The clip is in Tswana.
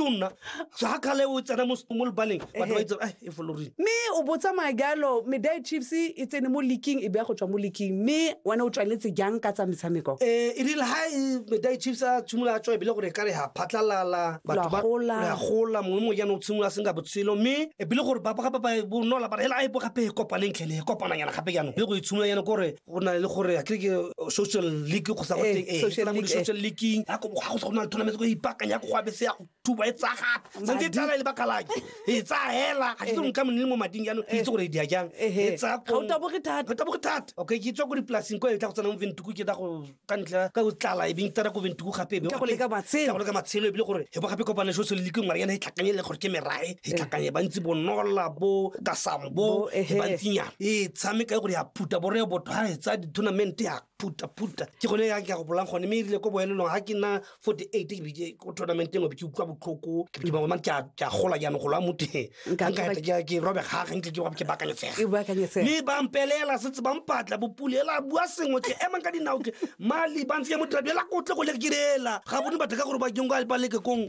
nna ga kgale o tsena mo lebaleng, batho ba itse, "Ai, e folorile." Mme o bo tsamaya jalo, Medai Chiefs e tsene mo leaking, e beya go tswa mo leaking, mme wena o tswaletse jang ka tsa metshameko? E rile ha e Medai Chiefs a tshimolola a tswa, ebile gore e ka re ha phatlalala, batho ba gola. Re a gola, mongwe le mongwe jaanong o tshimolola a senka botshelo, mme ebile gore ba gape ba bonola ba re hela, a e bo gape e kopaneng tlhele, e kopananyana gape jaanong, le go e tshimolola jaanong kore go na le gore a kere ke social league go sa go teng, social tsena mo league, di-social leagueng, ya go ga go na le tournament, go ipaakanya go go abese ya go thuba e tsaya gape santse e tsala e le bakalaki e tsaya hela, ga ke tlo nka monne mo mading jaanong, ke itse gore e dia jang e tsaya. Ga o taboge thata. Ga o taboge thata. Okay, ke tswa ko dipolaseng ko e tla go tsena mo Ventuku, ke tla go ka ntlha ka go tlala e beng tsena ko Ventuku gape e be Tla go leka matshelo. Tla go leka matshelo, ebile gore e bo gape kopane social league ngwana yana e tlhakanye le gore ke merae e tlhakanye bantsi bonola bo kasambo. Bo, e bantsinyana e tshameka e gore ya phuta bore botho ha e tsaya di-tournament ya phuta-phuta, ke gone ya ke ya go bolang gone. Mme erile ko bohelelong ga ke nna 48, ke be ke ko tournament engwe, be ke utlwa botlhoko, ke be ke bona ke a gola jaanong, golo a motho Nka nka eta ke robega gantle, ke baakanyetsega. E baakanyetsega. Mme ba mpelela setse ba mpatla bopule ela bua sengwe, ke emang ka dinao, ke mali ba ntsenya mo tirabi ela kotle go le ke direla ga bone batho ka gore ba keng ba leke kong.